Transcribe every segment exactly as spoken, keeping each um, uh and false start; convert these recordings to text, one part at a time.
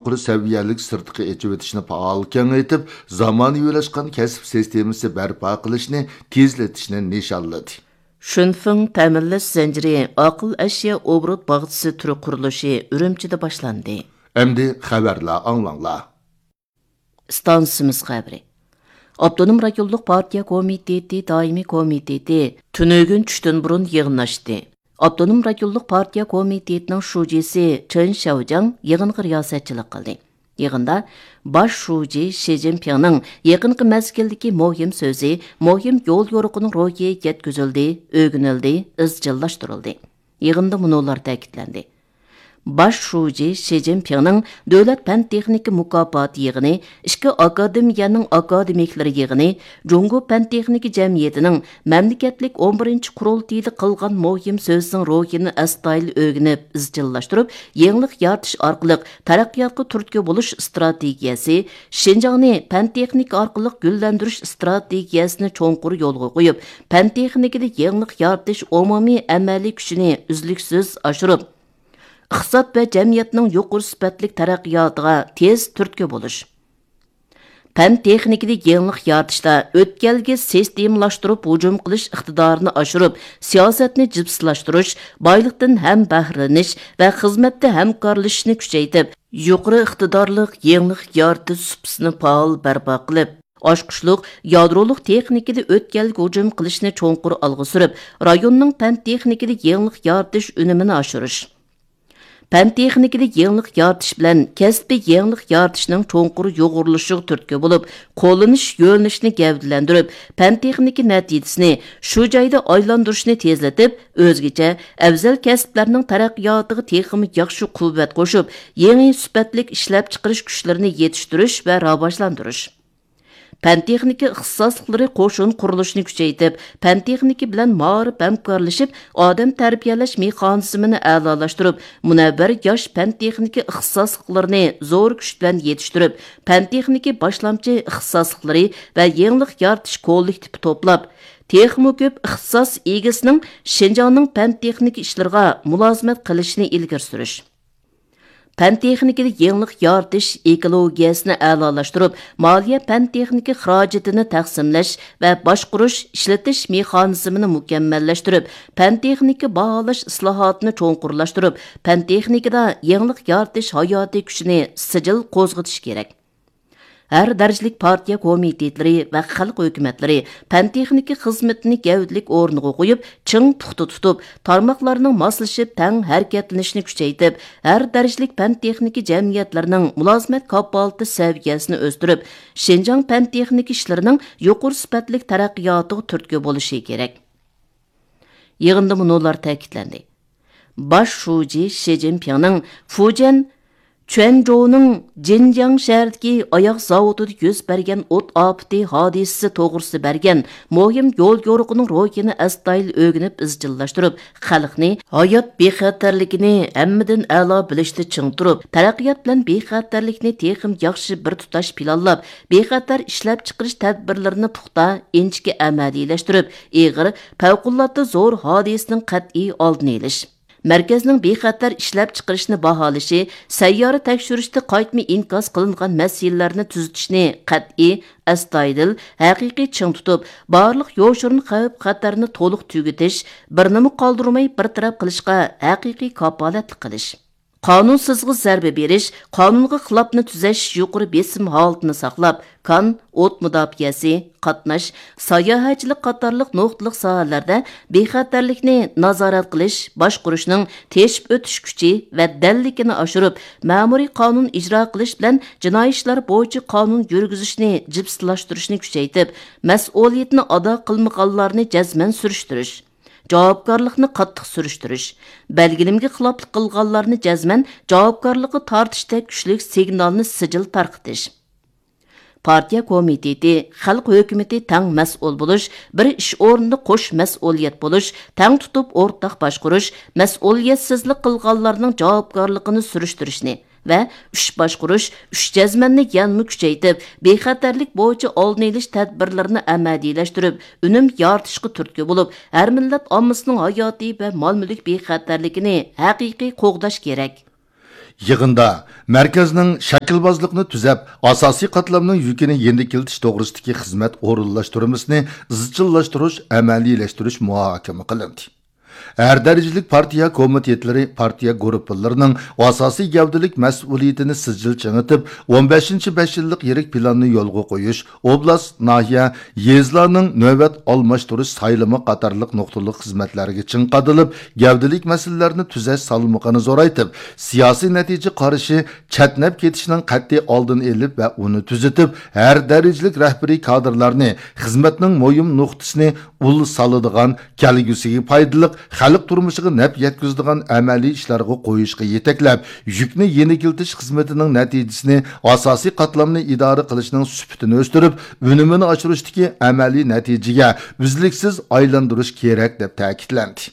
يۇقىرى سەۋىيەلىك سىرتقا ئېچىۋېتىشنى پائال كېڭەيتىپ، زامانىۋىلاشقان كەسىپ سىستېمىسى بەرپا قىلىشنى تېزلىتىشنى نىشانلىدى. شۈنفېڭ تەمىنلەش زەنجىرى ئاقىل ئەشيا ئوبوروت باغچىسى تۈرى قۇرۇلۇشى ئۈرۈمچىدە باشلاندى. ئەمدى خەۋەرلەر ئاڭلاڭلار. ئىستانسىمىز خەۋىرى. ئاپتونوم رايونلۇق پارتىيە كومىتېتى دائىمىي كومىتېتى تۈنۈگۈن چۈشتىن بۇرۇن يىغىن ئاچتى. ئاپتونوم رايونلۇق پارتىيە كومىتېتىنىڭ شۇجىسى چېن شياۋجياڭ يىغىنغا رىياسەتچىلىك قىلدى. يىغىندا باش شۇجى شى جىنپىڭنىڭ يېقىنقى مەزگىلدىكى مۇھىم سۆزى، مۇھىم يول يورۇقىنىڭ روھى يەتكۈزۈلدى، ئۆگىنىلدى، ئىزچىللاشتۇرۇلدى. يىغىندا مۇنۇلار تەكىتلەندى. باش شۇجى شى جىنپىڭنىڭ دۆلەت پەن تېخنىكا مۇكاپاتى يىغىنى، ئىككى ئاكادېمىيەنىڭ ئاكادېمىكلىرى يىغىنى، جۇڭگو پەن تېخنىكا جەمئىيىتىنىڭ مەملىكەتلىك ئون بىرىنچى قۇرۇلتىيىدا قىلغان مۇھىم سۆزىنىڭ روھىنى ئەستايىدىل ئۆگىنىپ، ئىزچىللاشتۇرۇپ، يېڭىلىق يارىتىش ئارقىلىق تەرەققىياتقا تۈرتكە بولۇش ئىستراتېگىيەسى، شىنجاڭنى پەن تېخنىكا ئارقىلىق گۈللەندۈرۈش ئىستراتېگىيەسىنى چوڭقۇر يولغا قويۇپ، پەن تېخنىكىدا يېڭىلىق يارىتىش ئومۇمىي ئەمەلىي كۈچىنى ئۈزلۈكسىز ئاشۇرۇپ، ئىقتىساد ۋە جەمئىيەتنىڭ يۇقىرى سۈپەتلىك تەرەققىياتىغا تېز تۈرتكە بولۇش. پەن تېخنىكىدا يېڭىلىق يارىتىشتا ئۆتكەلگە سىستېمىلاشتۇرۇپ ھۇجۇم قىلىش ئىقتىدارىنى ئاشۇرۇپ، سىياسەتنى جىپسىلاشتۇرۇش، بايلىقتىن ھەم بەھرىلىنىش ۋە خىزمەتتە ھەمكارلىشىشنى كۈچەيتىپ، يۇقىرى ئىقتىدارلىق يېڭىلىق يارىتىش سۇپىسىنى پائال بەرپا قىلىپ، ئاچقۇچلۇق يادرولۇق تېخنىكىدا ئۆتكەلگە ھۇجۇم قىلىشنى چوڭقۇر ئالغا سۈرۈپ، رايوننىڭ پەن تېخنىكىدا يېڭىلىق يارىتىش ئۈنۈمىنى ئاشۇرۇش. پەن تېخنىكىدا يېڭىلىق يارىتىش بىلەن كەسپىي يېڭىلىق يارىتىشنىڭ چوڭقۇر يۇغۇرۇلۇشىغا تۈرتكە بولۇپ، قوللىنىش يۆنىلىشىنى گەۋدىلەندۈرۈپ، پەن تېخنىكا نەتىجىسىنى شۇ جايدا ئايلاندۇرۇشنى تېزلىتىپ، ئۆزگىچە ئەۋزەل كەسىپلەرنىڭ تەرەققىياتىغا تېخىمۇ ياخشى قۇۋۋەت قوشۇپ، يېڭى سۈپەتلىك ئىشلەپچىقىرىش كۈچلىرىنى يېتىشتۈرۈش ۋە راۋاجلاندۇرۇش. پەن تېخنىكا ئىختىساسلىقلىرى قوشۇن قۇرۇلۇشىنى كۈچەيتىپ، پەن تېخنىكا بىلەن مائارىپ ھەمكارلىشىپ، ئادەم تەربىيەلەش مېخانىزمىنى ئەلالاشتۇرۇپ، مۇنەۋۋەر ياش پەن تېخنىكا ئىختىساسلىقلىرىنى زور كۈچ بىلەن يېتىشتۈرۈپ، پەن تېخنىكا باشلامچى ئىختىساسلىقلىرى ۋە يېڭىلىق يارىتىش كوللېكتىپى توپلاپ، تېخىمۇ كۆپ ئىختىساس ئىگىسىنىڭ شىنجاڭنىڭ پەن تېخنىكا ئىشلىرىغا مۇلازىمەت قىلىشىنى ئىلگىرى سۈرۈش. پەن تېخنىكىدا يېڭىلىق يارىتىش ئېكولوگىيەسىنى ئەلالاشتۇرۇپ، مالىيە پەن تېخنىكا خىراجىتىنى تەقسىملەش ۋە باشقۇرۇش، ئىشلىتىش مېخانىزمىنى مۇكەممەللەشتۈرۈپ، پەن تېخنىكا باھالاش ئىسلاھاتىنى چوڭقۇرلاشتۇرۇپ، پەن تېخنىكىدا يېڭىلىق يارىتىش ھاياتىي كۈچىنى سىجىل قوزغىتىش كېرەك. ھەر دەرىجىلىك پارتىيە كومىتېتلىرى ۋە خەلق ھۆكۈمەتلىرى پەن تېخنىكا خىزمىتىنى گەۋدىلىك ئورنىغا قويۇپ، چىڭ پۇختا تۇتۇپ، تارماقلارنىڭ ماسلىشىپ تەڭ ھەرىكەتلىنىشىنى كۈچەيتىپ، ھەر دەرىجىلىك پەن تېخنىكا جەمئىيەتلىرىنىڭ مۇلازىمەت كاپالىتى سەۋىيەسىنى ئۆستۈرۈپ، شىنجاڭ پەن تېخنىكا ئىشلىرىنىڭ يۇقىرى سۈپەتلىك تەرەققىياتىغا تۈرتكە بولۇشى كېرەك. يىغىندا مۇنۇلار تەكىتلەندى. باش شۇجى شى جىنپىڭنىڭ فۇجيەن چۈەنجوۋنىڭ جىنجياڭ شەھىرىدىكى ئاياغ زاۋۇتىدا يۈز بەرگەن ئوت ئاپىتى ھادىسىسى توغرىسىدا بەرگەن مۇھىم يول يورۇقىنىڭ روھىنى ئەستايىدىل ئۆگىنىپ ئىزچىللاشتۇرۇپ، خەلقنى ھايات بىخەتەرلىكىنى ھەممىدىن ئەلا بىلىشتە چىڭ تۇرۇپ، تەرەققىيات بىلەن بىخەتەرلىكنى تېخىمۇ ياخشى بىر تۇتاش پىلانلاپ، بىخەتەر ئىشلەپچىقىرىش تەدبىرلىرىنى پۇختا، ئىنچىكە ئەمەلىيلەشتۈرۈپ، ئېغىر، پەۋقۇلئاددە زور ھادىسىنىڭ قەتئىي ئالدىنى ئېلىش. مەركەزنىڭ بىخەتەر ئىشلەپچىقىرىشنى باھالىشى، سەييارە تەكشۈرۈشتە قايتما ئىنكاس قىلىنغان مەسىلىلەرنى تۈزىتىشنى قەتئىي، ئەستايىدىل، ھەقىقىي چىڭ تۇتۇپ، بارلىق يوشۇرۇن خەۋپ-خەتەرنى تولۇق تۈگىتىش، بىرنىمۇ قالدۇرماي بىر تەرەپ قىلىشقا ھەقىقىي كاپالەتلىك قىلىش. قانۇنسىزغا زەربە بېرىش، قانۇنغا خىلاپنى تۈزەش يۇقىرى بېسىم ھالىتىنى ساقلاپ، كان، ئوت مۇداپىئەسى، قاتناش، ساياھەتچىلىك قاتارلىق نۇقتىلىق ساھەلەردە بىخەتەرلىكنى نازارەت قىلىش، باشقۇرۇشنىڭ تېشىپ ئۆتۈش كۈچى ۋە دەللىكىنى ئاشۇرۇپ، مەمۇرىي قانۇن ئىجرا قىلىش بىلەن جىنايى ئىشلار بويىچە قانۇن يۈرگۈزۈشنى جىپسىلاشتۇرۇشنى كۈچەيتىپ، مەسئۇلىيىتىنى ئادا قىلمىغانلارنى جەزمەن سۈرۈشتۈرۈش، جاۋابكارلىقنى قاتتىق سۈرۈشتۈرۈش، بەلگىلىمىگە خىلاپلىق قىلغانلارنى جەزمەن جاۋابكارلىققا تارتىشتەك كۈچلۈك سىگنالنى سىجىل تارقىتىش. پارتىيە كومىتېتى، خەلق ھۆكۈمىتى تەڭ مەسئۇل بولۇش، بىر ئىش ئورنىدا قوش مەسئۇلىيەت بولۇش، تەڭ تۇتۇپ ئورتاق باشقۇرۇش، مەسئۇلىيەتسىزلىك قىلغانلارنىڭ جاۋابكارلىقىنى سۈرۈشتۈرۈشنى ۋە ئۈچ باشقۇرۇش، ئۈچ جەزمەننى يەنىمۇ كۈچەيتىپ، بىخەتەرلىك بويىچە ئالدىنى ئېلىش تەدبىرلىرىنى ئەمەلىيلەشتۈرۈپ، ئۈنۈم يارىتىشقا تۈرتكە بولۇپ، ھەر مىللەت ئاممىسىنىڭ ھاياتىي ۋە مال-مۈلۈك بىخەتەرلىكىنى ھەقىقىي قوغداش كېرەك. يىغىندا مەركەزنىڭ شەكىلۋازلىقنى تۈزەپ، ئاساسىي قاتلامنىڭ يۈكىنى يېنىكلىتىش توغرىسىدىكى خىزمەت ئورۇنلاشتۇرمىسىنى ئىزچىللاشتۇرۇش، ئەمەلىيلەشتۈرۈش مۇھاكىمە قىلىندى. ھەر دەرىجىلىك پارتىيە كومىتېتلىرى، پارتىيە گۇرۇپپىلىرىنىڭ ئاساسىي گەۋدىلىك مەسئۇلىيىتىنى سىجىل چىڭىتىپ، ئون بەشىنچى بەش يىللىق يىرىك پىلاننى يولغا قويۇش، ئوبلاست، ناھىيە، يېزىلارنىڭ نۆۋەت ئالماشتۇرۇش سايلىمى قاتارلىق نۇقتىلىق خىزمەتلەرگە چىڭ قادىلىپ، گەۋدىلىك مەسىلىلەرنى تۈزەش سالمىقىنى زورايتىپ، سىياسىي نەتىجە قارىشى چەتنەپ كېتىشنىڭ قەتئىي ئالدىنى ئېلىپ ۋە ئۇنى تۈزىتىپ، ھەر دەرىجىلىك رەھبىرىي كادىرلارنى خىزمەتنىڭ مۇھىم نۇقتىسىنى ئۇل سالىدىغان، كەلگۈسىگە پايدىلىق، خەلق تۇرمۇشىغا نەپ يەتكۈزىدىغان ئەمەلىي ئىشلارغا قويۇشقا يېتەكلەپ، يۈكنى يېنىكلىتىش خىزمىتىنىڭ نەتىجىسىنى، ئاساسىي قاتلامنى ئىدارە قىلىشنىڭ سۈپىتىنى ئۆستۈرۈپ، ئۈنۈمىنى ئاشۇرۇشتىكى ئەمەلىي نەتىجىگە ئۈزلۈكسىز ئايلاندۇرۇش كېرەك، دەپ تەكىتلەندى.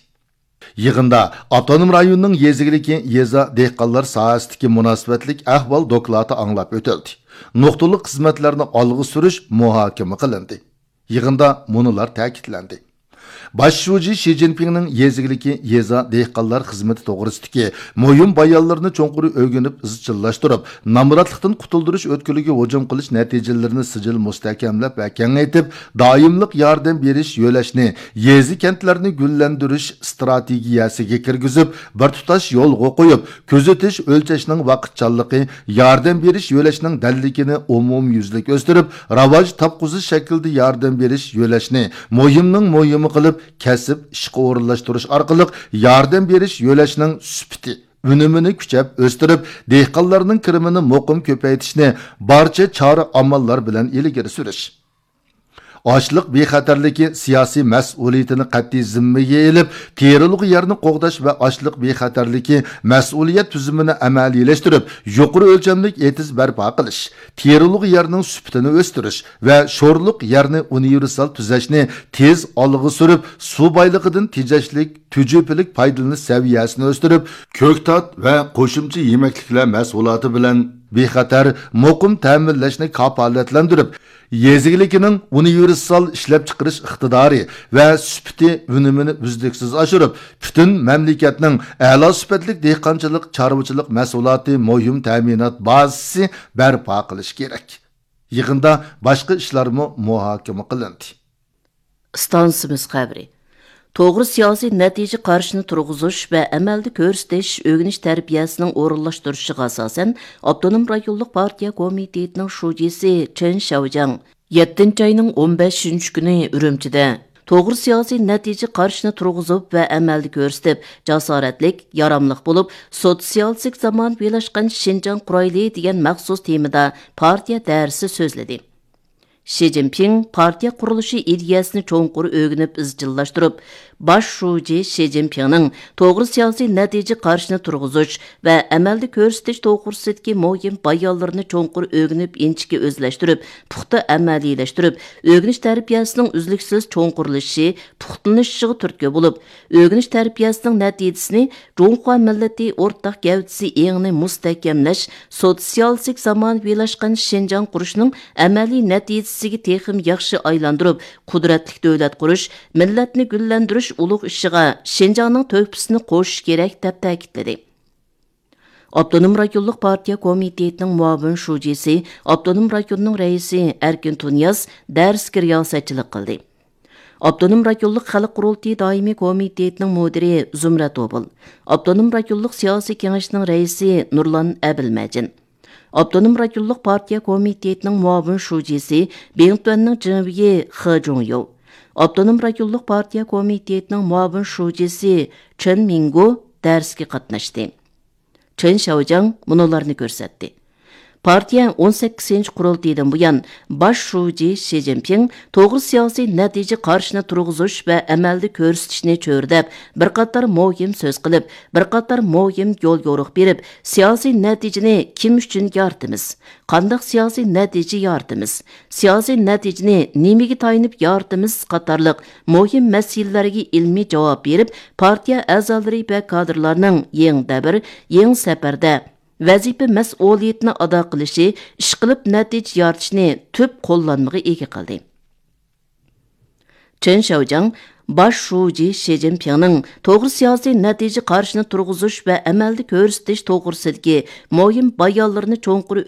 يىغىندا ئاپتونوم رايوننىڭ يېزا ئىگىلىكى، يېزا، دېھقانلار ساھەسىدىكى مۇناسىۋەتلىك ئەھۋال دوكلاتى ئاڭلاپ ئۆتۈلدى. نۇقتىلىق خىزمەتلەرنى ئالغا سۈرۈش مۇھاكىمە قىلىندى. يىغىندا مۇنۇلار تەكىتلەندى. باش شۇجى شى جىنپىڭنىڭ يېزا ئىگىلىكى، يېزا، دېھقانلار خىزمىتى توغرىسىدىكى مۇھىم بايانلىرىنى چوڭقۇر ئۆگىنىپ ئىزچىللاشتۇرۇپ، نامراتلىقتىن قۇتۇلدۇرۇش ئۆتكىلىگە ھۇجۇم قىلىش نەتىجىلىرىنى سىجىل مۇستەھكەملەپ ۋە كېڭەيتىپ، دائىملىق ياردەم بېرىش يۆلەشنى يېزا، كەنتلەرنى گۈللەندۈرۈش ئىستراتېگىيەسىگە كىرگۈزۈپ، بىر تۇتاش يولغا قويۇپ، كۆزىتىش، ئۆلچەشنىڭ ۋاقىتچانلىقى، ياردەم بېرىش يۆلەشنىڭ دەللىكىنى ئومۇميۈزلۈك ئۆستۈرۈپ، راۋاج تاپقۇزۇش شەكلىدە ياردەم بېرىش يۆلەشنى مۇھىمنىڭ مۇھىمى قىلىپ، كەسىپ ئىشقا ئورۇنلاشتۇرۇش ئارقىلىق ياردەم بېرىش يۆلەشنىڭ سۈپىتى، ئۈنۈمىنى كۈچەپ ئۆستۈرۈپ، دېھقانلارنىڭ كىرىمىنى مۇقىم كۆپەيتىشنى بارچە چارە ئاماللار بىلەن ئىلگىرى سۈرۈش. ئاشلىق بىخەتەرلىكى سىياسىي مەسئۇلىيىتىنى قەتئىي زىممىگە ئېلىپ، تېرىلغۇ يەرنى قوغداش ۋە ئاشلىق بىخەتەرلىكى مەسئۇلىيەت تۈزۈمىنى ئەمەلىيلەشتۈرۈپ، يۇقىرى ئۆلچەملىك ئېتىز بەرپا قىلىش، تېرىلغۇ يەرنىڭ سۈپىتىنى ئۆستۈرۈش ۋە شورلۇق يەرنى ئۇنىۋېرسال تۈزەشنى تېز ئالغا سۈرۈپ، سۇ بايلىقىدىن تېجەشلىك، تۈجۈپىلىك پايدىلىنىش سەۋىيەسىنى ئۆستۈرۈپ، كۆكتات ۋە قوشۇمچە يېمەكلىكلەر مەھسۇلاتى بىلەن بىخەتەر، مۇقىم تەمىنلەشنى كاپالەتلەندۈرۈپ، يېزا ئىگىلىكىنىڭ ئۇنىۋېرسال ئىشلەپچىقىرىش ئىقتىدارى ۋە سۈپىتى ئۈنۈمىنى ئۈزلۈكسىز ئاشۇرۇپ، پۈتۈن مەملىكەتنىڭ ئەلا سۈپەتلىك دېھقانچىلىق، چارۋىچىلىق مەھسۇلاتى مۇھىم تەمىنات بازىسى بەرپا قىلىش كېرەك. يىغىندا باشقا ئىشلارمۇ مۇھاكىمە قىلىندى. ئىستانسىمىز خەۋىرى. توغرا سىياسىي نەتىجە قارىشىنى تۇرغۇزۇش ۋە ئەمەلدە كۆرسىتىش ئۆگىنىش تەربىيەسىنىڭ ئورۇنلاشتۇرۇشىغا ئاساسەن، ئاپتونوم رايونلۇق پارتىيە كومىتېتىنىڭ شۇجىسى چېن شياۋجياڭ يەتتىنچى ئاينىڭ ئون بەشىنچى كۈنى ئۈرۈمچىدە توغرا سىياسىي نەتىجە قارىشىنى تۇرغۇزۇپ ۋە ئەمەلدە كۆرسىتىپ، جاسارەتلىك، ياراملىق بولۇپ، سوتسىيالىستىك زامانىۋىلاشقان شىنجاڭ قۇرايلى دېگەن مەخسۇس تېمىدا پارتىيە دەرسى سۆزلىدى. شى جىنپىڭ پارتىيە قۇرۇلۇشى ئىدىيەسىنى چوڭقۇر ئۆگىنىپ ئىزچىللاشتۇرۇپ، باش شۇجى شى جىنپىڭنىڭ توغرا سىياسىي نەتىجە قارىشىنى تۇرغۇزۇش ۋە ئەمەلدە كۆرسىتىش توغرىسىدىكى مۇھىم بايانلىرىنى چوڭقۇر ئۆگىنىپ، ئىنچىكە ئۆزلەشتۈرۈپ، پۇختا ئەمەلىيلەشتۈرۈپ، ئۆگىنىش تەربىيەسىنىڭ ئۈزلۈكسىز چوڭقۇرلىشىشى، پۇختىلىنىشىغا تۈرتكە بولۇپ، ئۆگىنىش تەربىيەسىنىڭ نەتىجىسىنى جۇڭخۇا مىللىتى ئورتاق گەۋدىسى ئېڭىنى مۇستەھكەملەش، سوتسىيالىستىك زامانىۋىلاشقان شىنجاڭ قۇرۇشنىڭ ئەمەلىي نەتىجىسىگە تېخىمۇ ياخشى ئايلاندۇرۇپ، قۇدرەتلىك دۆلەت قۇرۇش، مىللەتنى گۈللەندۈرۈش ئۇلۇغ ئىشىغا شىنجاڭنىڭ تۆھپىسىنى قوشۇش كېرەك، دەپ تەكىتلىدى. ئاپتونوم رايونلۇق پارتىيە كومىتېتىنىڭ مۇئاۋىن شۇجىسى، ئاپتونوم رايوننىڭ رەئىسى ئەركىن تۇنىياز دەرسكە رىياسەتچىلىك قىلدى. ئاپتونوم رايونلۇق خەلق قۇرۇلتىيى دائىمىي كومىتېتىنىڭ مۇدىرى زۇمرەت ئوبۇل، ئاپتونوم رايونلۇق سىياسىي كېڭەشنىڭ رەئىسى نۇرلان ئەبىلمەجىن، ئاپتونوم رايونلۇق پارتىيە كومىتېتىنىڭ مۇئاۋىن شۇجىسى، بىڭتۈەننىڭ جىڭۋېيى خې جۇڭيۇ، ئاپتونوم رايونلۇق پارتىيە كومىتېتىنىڭ مۇئاۋىن شۇجىسى چېن مىڭگو دەرسكە قاتناشتى. چېن شياۋجياڭ مۇنۇلارنى كۆرسەتتى. پارتىيە ئون سەككىزىنچى قۇرۇلتىيىدىن بۇيان، باش شۇجى شى جىنپىڭ توغرا سىياسىي نەتىجە قارىشىنى تۇرغۇزۇش ۋە ئەمەلدە كۆرسىتىشنى چۆرىدەپ، بىر قاتار مۇھىم سۆز قىلىپ، بىر قاتار مۇھىم يول يورۇق بېرىپ، سىياسىي نەتىجىنى كىم ئۈچۈن يارىتىمىز؟ قانداق سىياسىي نەتىجە يارىتىمىز؟ سىياسىي نەتىجىنى نېمىگە تايىنىپ يارىتىمىز؟ قاتارلىق مۇھىم مەسىلىلەرگە ئىلمىي جاۋاب بېرىپ، پارتىيە ئەزالىرى ۋە كادىرلارنىڭ يېڭى دەۋر، يېڭى سەپەردە ۋەزىپە مەسئۇلىيىتىنى ئادا قىلىشى، ئىشقىلىپ نەتىجە يارىتىشنى تۈپ قوللانمىغا ئىگە قىلدى. چېن شياۋجياڭ باش شۇجى شى جىنپىڭنىڭ توغرا سىياسىي نەتىجە قارىشىنى تۇرغۇزۇش ۋە ئەمەلدە كۆرسىتىش توغرىسىدىكى مۇھىم بايانلىرىنى چوڭقۇر